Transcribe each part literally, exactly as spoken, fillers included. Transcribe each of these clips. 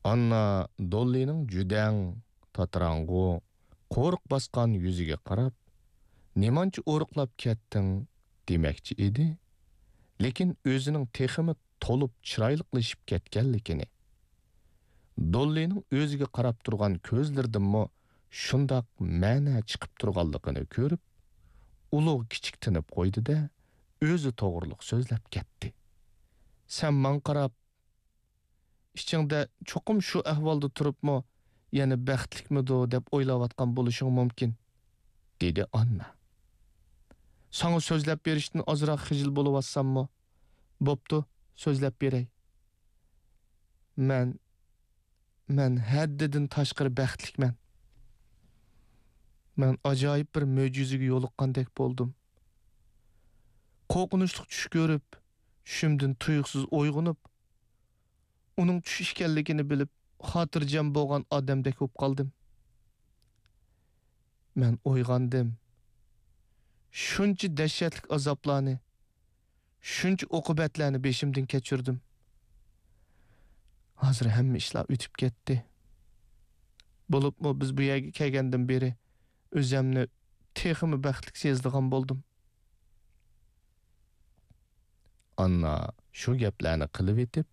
ئاننا دوللىنىڭ جۈدەڭ، تاتىراڭغۇ، قورۇق باسقان يۈزىگە قاراپ، «نېمانچە ئورۇقلاپ كەتتىڭ؟» دېمەكچى ئىدى، لېكىن ئۆزىنىڭ تېخىمۇ تولۇپ چىرايلىقلىشىپ كەتكەنلىكىنى، دوللىنىڭ ئۆزىگە قاراپ تۇرغان كۆزلىرىدىنمۇ شۇنداق مەنە چىقىپ تۇرغانلىقىنى كۆرۈپ، ئۇلۇغ كىچىك تىنىپ قويدى-دە، ئۆزى توغرۇلۇق سۆزلەپ كەتتى. «سەن ماڭا قاراپ، ئىچىڭدە چوقۇم شۇ ئەھۋالدا تۇرۇپمۇ يەنە بەختلىكمىدۇ دەپ ئويلاۋاتقان بولۇشۇڭ مۇمكىن»، دېدى ئاننا. «ساڭا سۆزلەپ بېرىشتىن ئازراق خىجىل بولۇۋاتساممۇ، بوپتۇ، سۆزلەپ بېرەي. مەن، مەن ھەددىدىن تاشقىرى بەختلىكمەن. مەن ئاجايىپ بىر مۆجىزىگە يولۇققاندەك بولدۇم. قورقۇنچلۇق چۈش كۆرۈپ، چۈشۈمدىن تۇيۇقسىز ئويغىنىپ، ئۇنىڭ چۈش ئىكەنلىكىنى بىلىپ، خاتىرجەم بولغان ئادەمدەك بولۇپ قالدىم. مەن ئويغاندىم. شۇنچە دەھشەتلىك ئازابلارنى، شۇنچە ئوقۇبەتلەرنى بېشىمدىن كەچۈردۈم. ھازىر ھەممە ئىشلار ئۆتۈپ كەتتى. بولۇپمۇ بىز بۇ يەرگە كەلگەندىن بېرى ئۆزەمنى تېخىمۇ بەختلىك سېزىدىغان بولدۇم.» ئاننا شۇ گەپلەرنى قىلىۋېتىپ،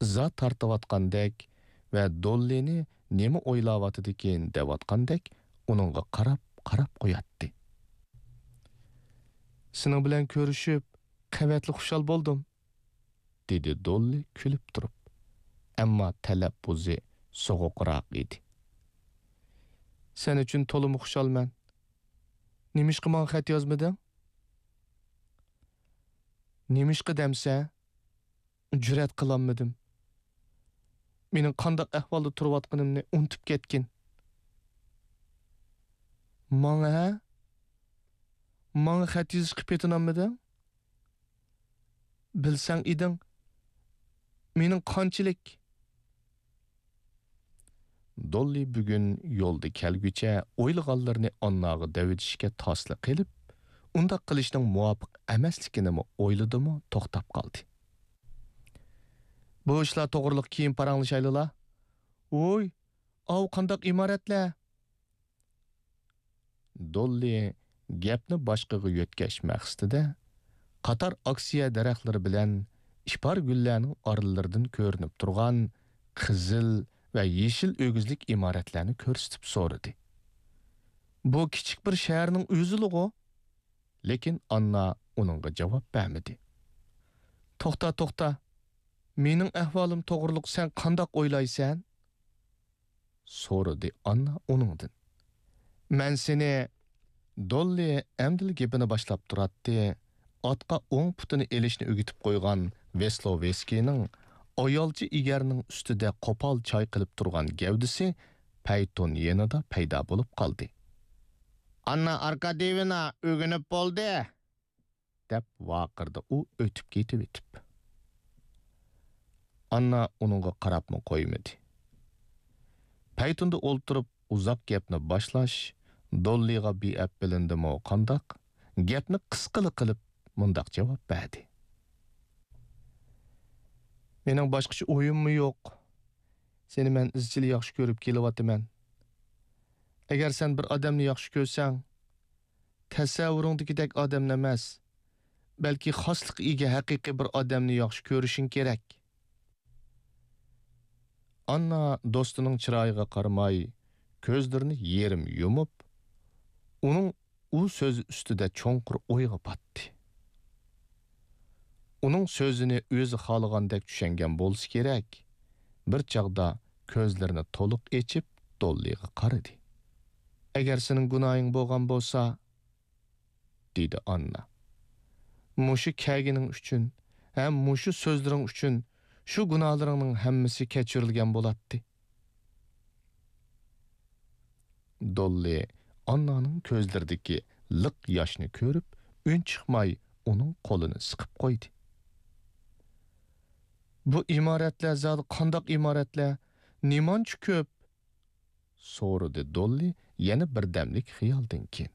ئىزا تارتىۋاتقاندەك ۋە دوللىنى نېمە ئويلاۋاتىدىكىن دەۋاتقاندەك ئۇنىڭغا قاراپ، قاراپ قوياتتى. «سېنىڭ بىلەن كۆرۈشۈپ، قەۋەتلىك خۇشال بولدۇم.» دېدى دوللى كۈلۈپ تۇرۇپ. ئەمما تەلەپپۇزى سوغۇقراق ئىدى. «سەن ئۈچۈن تولىمۇ خۇشالمەن. نېمىشقا ماڭا خەت يازمىدىڭ؟» «نېمىشقا دەمسە، جۈرئەت قىلالمىدىم. مېنىڭ قانداق ئەھۋالدا تۇرۇۋاتقىنىمنى ئۇنتۇپ كەتكىن.» «ماڭا ھە؟ ماڭا خەت يېزىشقا پېتىنالمىدىڭ؟ بىلسەڭ ئىدىڭ، مېنىڭ قانچىلىك...» دوللى بۈگۈن يولدا كەلگۈچە ئويلىغانلىرىنى ئانناغا دەۋېتىشكە تاسلا قېلىپ، ئۇنداق قىلىشنىڭ مۇۋاپىق ئەمەسلىكىنىمۇ ئويلىدىمۇ توختاپ قالدى. «بۇ ئىشلار توغرىلىق كېيىن پاراڭلىشايلىلا. ۋوي، ئاۋۇ قانداق ئىمارەتلەر؟» دوللى گەپنى باشقىغا يۆتكەش مەقسىتىدە، قاتار ئاكسىيە دەرەخلىرى بىلەن ئىپار گۈللەرنىڭ ئارىلىرىدىن كۆرۈنۈپ تۇرغان قىزىل ۋە يېشىل ئۆگزىلىك ئىمارەتلەرنى كۆرسىتىپ سورىدى. «بۇ كىچىك بىر شەھەرنىڭ ئۆزىلىغۇ؟» لېكىن ئاننا ئۇنىڭغا جاۋاب بەرمىدى. «توختا، توختا، مېنىڭ ئەھۋالىم توغرۇلۇق سەن قانداق ئويلايسەن؟» سورىدى ئاننا ئۇنىڭدىن. «مەن سېنى...» دوللى ئەمدىلا گېپىنى باشلاپ تۇراتتى، ئاتقا ئوڭ پۇتىنى ئېلىشنى ئۆگىتىپ قويغان ۋېسلوۋېسكىينىڭ ئايالچە ئېگەرنىڭ ئۈستىدە قوپال چايقىلىپ تۇرغان گەۋدىسى پەيتۇن يېنىدا پەيدا بولۇپ قالدى. «ئاننا ئاركاديېۋنا ئۆگىنىپ بولدى!» دەپ ۋارقىرىدى ئۇ ئۆتۈپ كېتىۋېتىپ. ئاننا ئۇنىڭغا قاراپمۇ قويمىدى. پەيتۇندا ئولتۇرۇپ ئۇزاق گەپنى باشلاش دوللىغا بىئەپ بىلىندىمۇ قانداق، گەپنى قىسقىلا قىلىپ مۇنداق جاۋاب بەردى: «مېنىڭ باشقىچە ئويۇممۇ يوق. سېنى مەن ئىزچىل ياخشى كۆرۈپ كېلىۋاتىمەن. ئەگەر سەن بىر ئادەمنى ياخشى كۆرسەڭ، تەسەۋۋۇرۇڭدىكىدەك ئادەمنى ئەمەس، بەلكى خاسلىققا ئىگە ھەقىقىي بىر ئادەمنى ياخشى كۆرۈشۈڭ كېرەك.» ئاننا دوستىنىڭ چىرايىغا قارىماي، كۆزلىرىنى يېرىم يۇمۇپ، ئۇنىڭ ئۇ سۆزى ئۈستىدە چوڭقۇر ئويغا پاتتى. ئۇنىڭ سۆزىنى ئۆزى خالىغاندەك چۈشەنگەن بولسا كېرەك، بىر چاغدا كۆزلىرىنى تولۇق ئېچىپ، دوللىغا قارىدى. «ئەگەر سېنىڭ گۇناھىڭ بولغان بولسا،» دېدى ئاننا، «مۇشۇ كەلگىنىڭ ئۈچۈن ھەم مۇشۇ سۆزلىرىڭ ئۈچۈن شۇ گۇناھلىرىڭنىڭ ھەممىسى كەچۈرۈلگەن بولاتتى.» دوللى ئاننانىڭ كۆزلىرىدىكى لىق ياشنى كۆرۈپ، ئۈنچىقماي ئۇنىڭ قولىنى سىقىپ قويدى. «بۇ ئىمارەتلەر زادى قانداق ئىمارەتلەر؟ نېمانچە كۆپ؟» سورىدى دوللى يەنە بىردەملىك خىيالدىن كېيىن.